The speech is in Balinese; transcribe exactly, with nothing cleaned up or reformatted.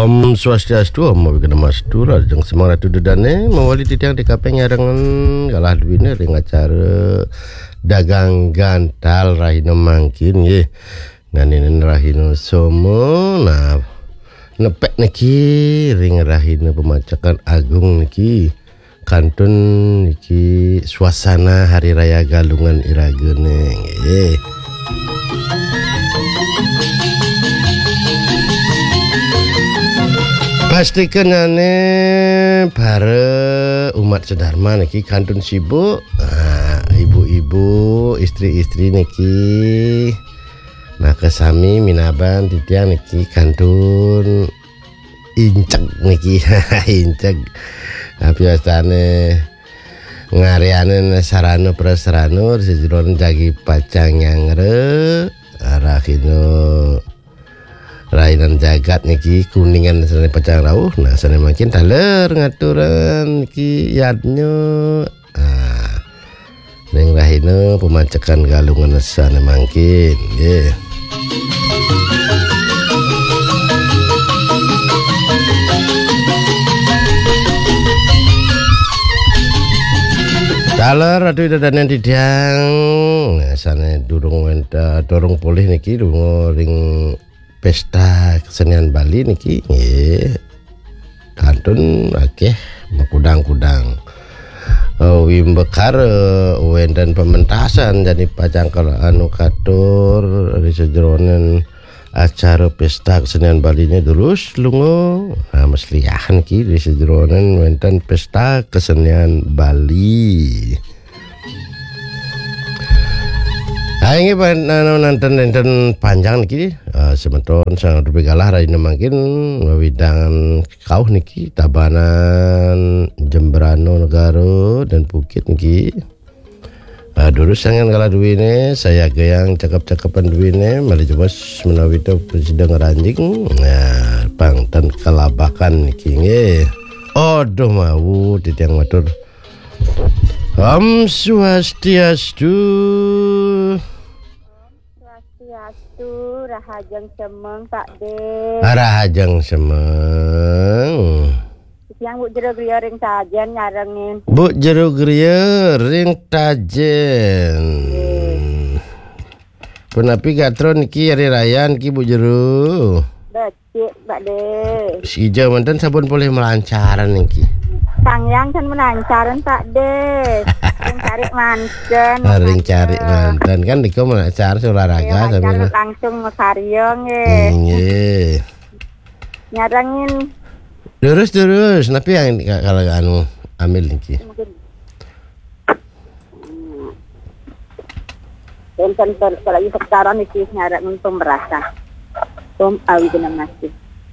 Om Swastiastu, Om Awighnamastu, Rajeng Semang Ratu Dedane, mawali titiang di kaping nyarengan galah duwine ring acara dagang gantal rahina mangkin, nggih. Nganinen rahina Soma, nah, nepek niki ring rahina pemacekan agung niki. Kantun niki suasana Hari Raya Galungan iragane, nggih. Pastikenane para umat sedharma niki kantun sibuk. Ah, ibu-ibu, istri-istri niki. Maka sami minaban titiang niki kantun inceg niki. Inceg. Apiastane ngaryanin sarana prasarana ri sajeroning jagi pacang nyanggra, rahina rainan jagat niki, Kuningan sane pacang rauh. Nah, sane mangkin taler ngaturan niki yadnya. Ah, ring rahina pemacekan Galungan sane mangkin, nggih. Taler Ratu Ida Danen titiang, sane durung wenta-, durung polih niki, durung ring pesta kesenian Bali niki, nggih. Kantun akeh makudang-kudang. Eh, wimbakara wenten pementasan, jani pacang kala anu katur ri sajeroning acara pesta kesenian Bali nya durus lunga. Nah, mesliahan ki ri sajeroning wenten pesta kesenian Bali. Ha, inggih, pan-, anu, nanten, nanten panjang niki, eh, semeton sang rupi galah rahina mangkin wewidangan kauh niki, Tabanan, Jembrana Negara, dan Bukit niki. Eh, durus sangan galah duwine, sayagayang cakep-cakepan duwine, malih jebos menawi to prasida ngranjing. Nah, pang ten kalabakan niki, nggih. Aduh, mawu, titiang matur. Om Swastiastu. Swastiastu, rahajeng semeng, Pak De. Rahajeng semeng. Tiang Bu Jero Griya ring Tajen nyarengin. Bu Jero Griya ring Tajen. Nggih. Punapi gatra niki hari raya niki, Bu Jero? Becik, Pak De. Sida manten sampun polih malancaran niki. Sang Hyang ten malancaran, Pak De. Ring cari manten. Ah, ring cari manten. Kan niku malancaran olahraga. Iya, sambil lancar langsung makarya, nggih. Nggih. Nyarengin. Durus, durus. Napi yang ka-, kalau anu ambil niki? Mungkin. Wenten per-, kalau sekitaran niki nyarengin pemerasan. Om Awighnamastu.